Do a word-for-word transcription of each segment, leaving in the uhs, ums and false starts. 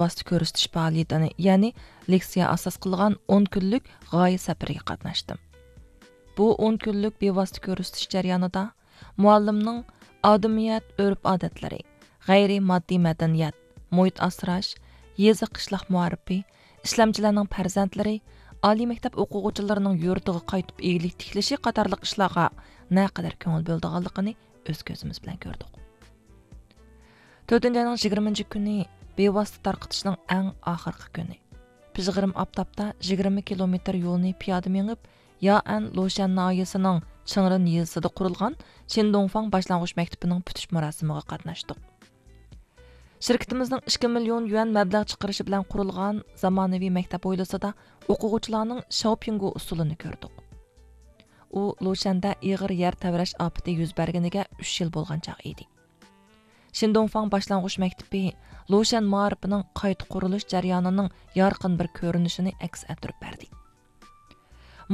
بىۋاسىتە كۆرسىتىش پائالىيىتىنى، يەنى لېكسىيە ئاساس قىلغان ئون كۈنلۈك غايە سەپىرىگە قاتناشتىم. بۇ ئون كۈنلۈك بىۋاسىتە كۆرسىتىش جەريانىدا مۇئەللىمنىڭ ئادىمىيەت، ئۆرپ-ئادەتلىرى، غەيرىي ماددىي مەدەنىيەت، مۇھىت ئاسراش، يېزا، قىشلاق مائارىپى، ئىشلەمچىلەرنىڭ پەرزەنتلىرى، ئالىي مەكتەپ ئوقۇغۇچىلىرىنىڭ يۇرتىغا قايتىپ ئىگىلىك تىكلىشى قاتارلىق ئىشلارغا نەقەدەر كۆڭۈل بۆلىدىغانلىقىنى ئۆز كۆزىمىز بىلەن كۆردۇق. تۆتىنچى ئاينىڭ يىگىرمىنچى كۈنى بىۋاسىتە تارقىتىشنىڭ ئەڭ ئاخىرقى كۈنى. پىژغىرىم ئاپتاپتا يىگىرمە كىلومېتىر يولنى پىيادە مېڭىپ، يائەن لۇشەن ناھىيەسىنىڭ چىڭرېن يېزىسىدا قۇرۇلغان شىندۇڭفاڭ باشلانغۇچ مەكتىپىنىڭ پۈتۈش مۇراسىمىغا قاتناشتۇق. شىركىتىمىزنىڭ ئىككى مىليون يۈەن مەبلەغ چىقىرىشى بىلەن قۇرۇلغان زامانىۋى مەكتەپ ھويلىسىدا ئوقۇغۇچىلارنىڭ شاۋپيۇڭگو ئۇسسۇلىنى كۆردۇق. ئۇ لۇشەندە ئېغىر يەر تەۋرەش ئاپىتى يۈز بەرگىنىگە ئۈچ يىل بولغان چاغ ئىدى. شىندۇڭفاڭ باشلانغۇچ مەكتىپى لۇشەن مائارىپىنىڭ قايتا قۇرۇلۇش جەريانىنىڭ يارقىن بىر كۆرۈنۈشىنى ئەكس ئەتتۈرۈپ بەردى.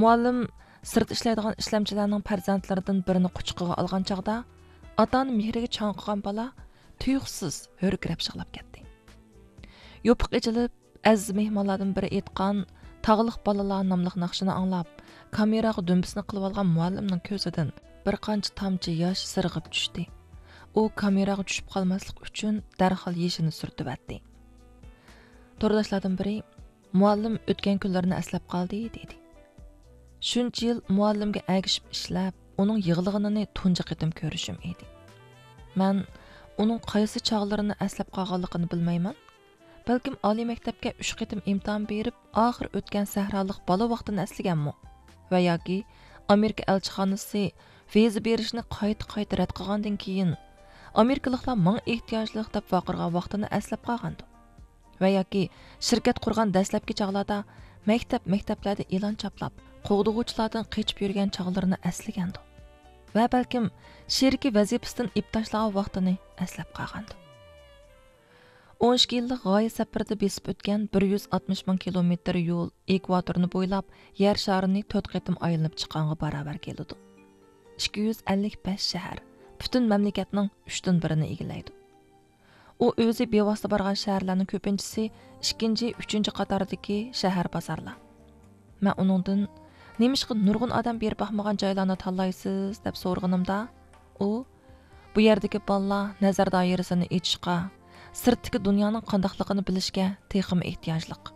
مۇئەللىم سىرتتا ئىشلەيدىغان ئىشلەمچىلەرنىڭ پەرزەنتلىرىدىن بىرىنى قۇچىقىغا ئالغان چاغدا، ئاتا-ئانا مېھرىگە چاڭقىغان بالا تۇيۇقسىز ھۆركىرەپ يىغلاپ كەتتى. يوپۇق ئېچىلىپ، ئەزىز مېھمانلاردىن بىرى ئېيتقان تاغلىق بالىلار ناملىق ناخشىنى ئاڭلاپ، كامېراغا دۈمبىسىنى قىلىۋالغان مۇئەللىمنىڭ كۆزىدىن بىر قانچە تامچە ياش سىرغىپ چۈشتى. ئۇ كامېراغا چۈشۈپ قالماسلىق ئۈچۈن دەرھال يېشىنى سۈرتۈۋەتتى. تورداشلاردىن بىرى، «مۇئەللىم ئۆتكەن كۈنلىرىنى ئەسلەپ قالدى» دېدى. شۇنچە يىل مۇئەللىمگە ئەگىشىپ ئىشلەپ، ئۇنىڭ يىغلىغىنىنى تۇنجى قېتىم كۆرۈشۈم ئىدى. مەن ئۇنىڭ قايسى چاغلىرىنى ئەسلەپ قالغانلىقىنى بىلمەيمەن. بەلكىم ئالىي مەكتەپكە ئۈچ قېتىم ئىمتىھان بېرىپ، ئاخىر ئۆتكەن سەھرالىق بالا ۋاقتىنى ئەسلىگەنمۇ؟ ۋە ياكى ئامېرىكا ئەلچىخانىسى ۋىزا بېرىشنى قايتا-قايتا رەت قىلغاندىن كېيىن، «ئامېرىكىلىقلار ماڭا ئېھتىياجلىق» دەپ ۋارقىرىغان ۋاقتىنى ئەسلەپ قالغاندۇ؟ ۋە ياكى شىركەت قۇرغان دەسلەپكى چاغلاردا مەكتەپ، مەكتەپلەردە ئېلان چاپلاپ، قوغدىغۇچىلاردىن قېچىپ يۈرگەن چاغلىرىنى ئەسلىگەندۇ؟ ۋە بەلكىم شېرىكى ۋەزىپىسىدىن ئېلىپ تاشلىغان ۋاقتىنى ئەسلەپ قالغاندۇ؟ ئون ئىككى يىللىق غايە سەپىرىدە بېسىپ ئۆتكەن بىر يۈز ئاتمىش مىڭ كىلومېتىر يول ئېكۋاتورنى بويلاپ، يەر شارىنى تۆت قېتىم ئايلىنىپ چىققانغا باراۋەر كېلىدۇ. ئىككى يۈز ئەللىك بەش شەھەر، پۈتۈن مەملىكەتنىڭ ئۈچتىن بىرىنى ئىگىلەيدۇ. ئۇ ئۆزى بىۋاسىتە بارغان شەھەرلەرنىڭ كۆپىنچىسى ئىككىنچى، ئۈچىنچى قاتاردىكى شەھەر بازارلار. مەن ئۇنىڭدىن، «نېمىشقا نۇرغۇن ئادەم بېرىپ باقمىغان جايلارنى تاللايسىز؟» دەپ سورىغىنىمدا، ئۇ، «بۇ يەردىكى بالىلار نەزەر دائىرىسىنى ئېچىشقا، سىرتتىكى دۇنيانىڭ قانداقلىقىنى بىلىشكە تېخىمۇ ئېھتىياجلىق.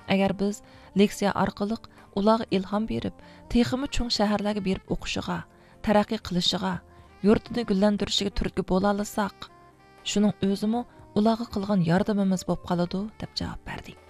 ئەگەر بىز لېكسىيە ئارقىلىق ئۇلارغا ئىلھام بېرىپ، تېخىمۇ چوڭ شەھەرلەرگە بېرىپ ئوقۇشىغا، تەرەققىي قىلىشىغا، يۇرتىنى گۈللەندۈرۈشىگە تۈرتكە بولالىساق، شۇنىڭ ئۆزىمۇ ئۇلارغا قىلغان ياردىمىمىز بولۇپ قالىدۇ» دەپ جاۋاب بەردى.